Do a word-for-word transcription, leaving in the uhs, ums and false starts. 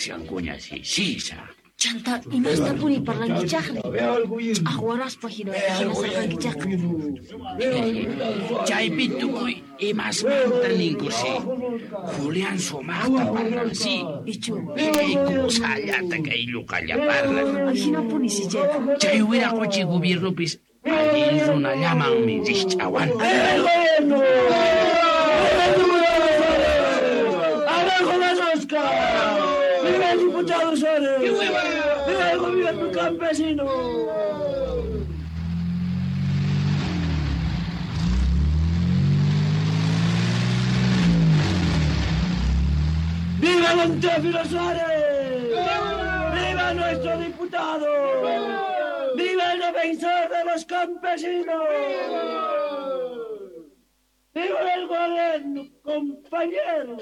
Kushankuña si sisa. Chanta imastapuni parlankichaqri? Ch'aqwaraspa hina hinasarqankichaqqa. Chaypi tukuy imasmanta ninkusi. Julián sumaqta parlansi. Ichu. Kusallata kay lluqalla parlan. Hinapuni si chayqa. Chay wiraquchi gobiernopis allin runallamanmi rikch'awan. ¡Abajo la rosca! ¡Viva el diputado Suárez! ¡Viva el gobierno campesino! ¡Viva don Teófilo Suárez! ¡Viva nuestro diputado! ¡Viva el defensor de los campesinos! ¡Viva el gobierno, compañero!